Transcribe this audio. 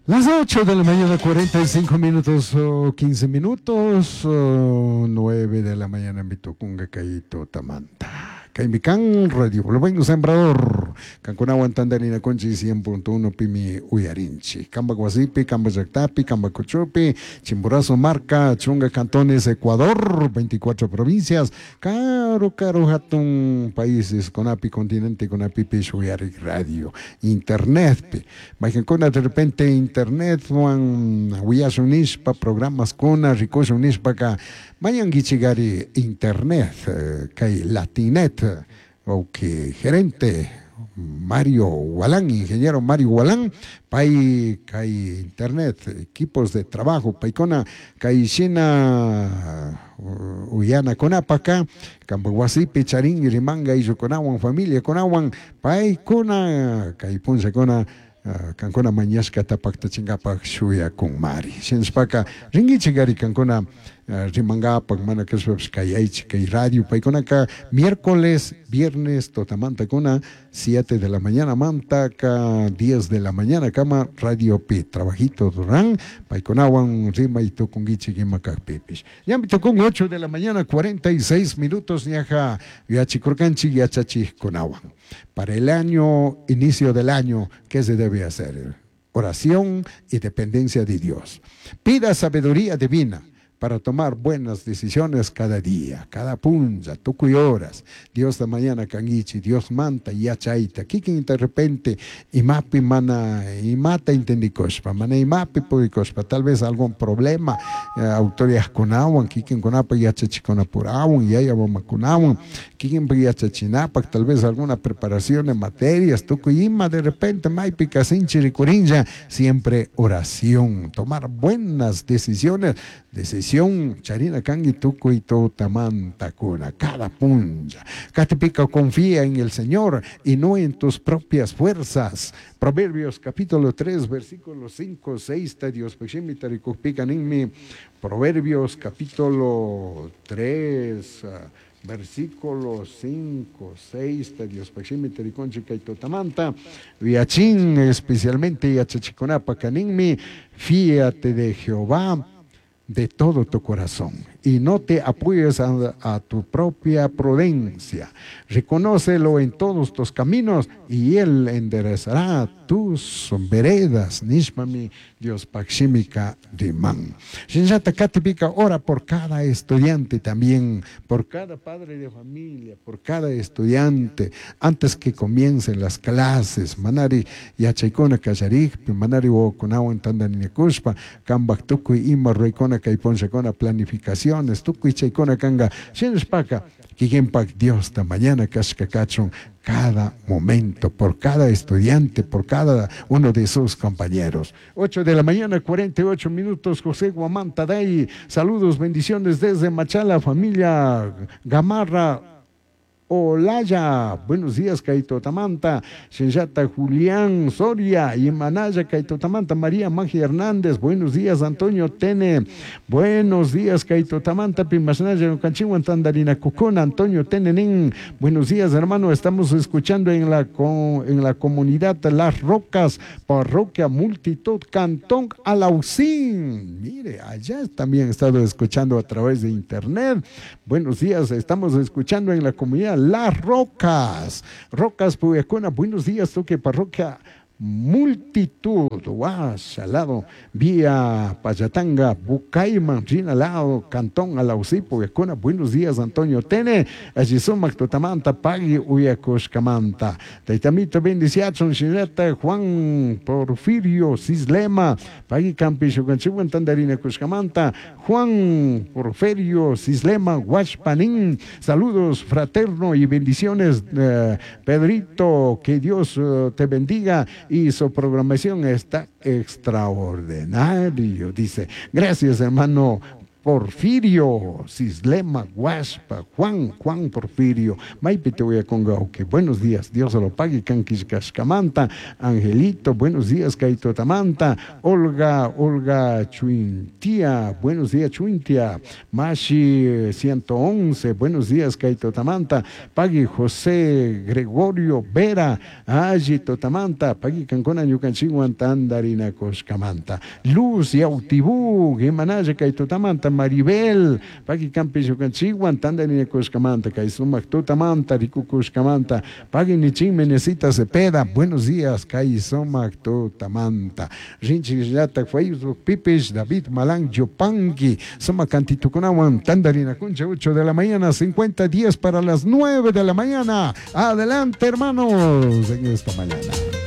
Las 8 de la mañana, 45 minutos o 15 minutos, 9 de la mañana, Mitucunga, Caito, Tamanta. Caimican, Radio Buen Sembrador, Cancunawan Tandarina Conchi 100.1 Pimi Uyarinchi, Camba Guasipi, Camba Yactapi, Camba Cochupi, Chimborazo Marca, Chunga Cantones, Ecuador, 24 provincias, Caro, Caro, Hatun, países, Conapi, Continente, Conapi, Uyari Radio, Internet, Mayqankuna de repente internetwan willasun nishpa programas kuna rikushun nishpaka mañankichikari internet kay latinet ok gerente Mario Walán, ingeniero Mario Walán, pay kay internet, equipos de trabajo, paykuna kay shina uyanakunapaka kampak wasipi charin rimanga ayllukunawan familiakunawan paykuna kay punllakuna kankuna mañashkata paktachinkapak shuyakunmari shinashpaka rinkichik kankuna rimankapak mana kashpapish kayaychik kay radio paykunaka miércoles, viernes tutamantakuna 7 de la mañana mantaka 10 de la mañana kama radio pi trabajito ruran paykunawan rimay tukunkichik ima kakpipish ñami tukun 8 de la mañana 46 minutos ñaja yachikurkanchik yachachikkunawan para el año, inicio del año, ¿qué se debe hacer? Oración y dependencia de Dios. Pida sabiduría divina para tomar buenas decisiones cada día, cada punlla, tukuy horas. Dios da mañana kangichi, Dios manta yachayta, kikin de repente imapi mana imata entendikushpa, mana imapi purikushpa, tal vez algún problema, autoridadkunawan, kikinkunapa yachachikunapurawan, yaya mamakunawan, kikinpa yachachinapak, tal vez alguna preparación de materias, tukuy ima de repente maypi kasinchi rikurinlla, siempre oración, tomar buenas decisiones, decisión charina kangi tukuy tutamantakuna, cada punlla. Katipika confía en el Señor y no en tus propias fuerzas. Proverbios capítulo 3, versículos 5, 6, Dios ninmi. Proverbios capítulo 3, versículo 5, 6, Dios Pashimi kay tutamanta, Viachín, especialmente yachachikunapa kaninmi, fíate de Jehová de todo tu corazón y no te apoyes a tu propia prudencia. Reconócelo en todos tus caminos y él enderezará tus veredas. Nishmami Dios Pakshimika Riman. Shinshata Katipika ora por cada estudiante también, por cada padre de familia, por cada estudiante, antes que comiencen las clases. Manari yachaykuna kallarikpi, manari wawakunawan tandaninakushpa, kambak tukuy ima ruraykuna kay punllakuna planificaciones, tukuy chaykuna kanga shinashpaka kikinpak Diosta mañana kashka kachun cada momento, por cada estudiante, por cada uno de sus compañeros. 8 de la mañana, 48 minutos, José Guamán Taday, saludos, bendiciones desde Machala, familia Gamarra Olaya, buenos días, Kaito Tamanta, Shinshata Julián Soria, y Manaya, Kaito Tamanta, María Magia Hernández, buenos días, Antonio Tene, buenos días, Kaito Tamanta, Pimasnaya, Canchihuan, Tandarina Cucona, Antonio Tene, nin, buenos días, hermano, estamos escuchando en la, en la comunidad Las Rocas, parroquia Multitud, Cantón Alaucín, mire, allá también he estado escuchando a través de internet, buenos días, estamos escuchando en la comunidad Las Rocas, Rocas Puyacuna, buenos días, toque parroquia Multitud, Guas, al lado, vía Payatanga, Bucayman, Rinalado, Cantón, Alaucí, Puyacuna, buenos días, Antonio Tene, allí sumak tutamanta, pagui uyakushkamanta, Taitamito bendiciachon, Shineta, Juan Porfirio Cislema, pagui campishukanchiwan, tandarina kushkamanta, Juan Porfirio Cislema, Huachpanín, saludos fraterno y bendiciones, Pedrito, que Dios te bendiga y su programación está extraordinario, dice. Gracias, hermano Porfirio, Cislema, Guaspa, Juan, Juan Porfirio, Maypi te voy a que buenos días, Dios se lo pague, Canquiscascamanta, Angelito, buenos días, Kaito Tamanta, Olga, Olga Chuintia, buenos días, Chuintia, Mashi 111, buenos días, Kaito Tamanta, Pagui José Gregorio Vera, Aji Totamanta, Pagui Cancona Ñucanchiguan Tandarina Coscamanta, Luz Yautibú, Gemanaya Kaito Tamanta, Maribel, Pagui Campi Ñucanchiguan Tandarina Coscamanta, Kaisumac Tutamanta, Rikukushkamanta, Pagui Nichin Menecita Cepeda, buenos días, Kaisumac Tutamanta, Rinchillata Facebook Pipish, David Malang Yopangui, Suma Cantitucunawan, Tandarina Concha, 8 de la mañana, 50 10 para las 9 de la mañana. Adelante, hermanos, en esta mañana.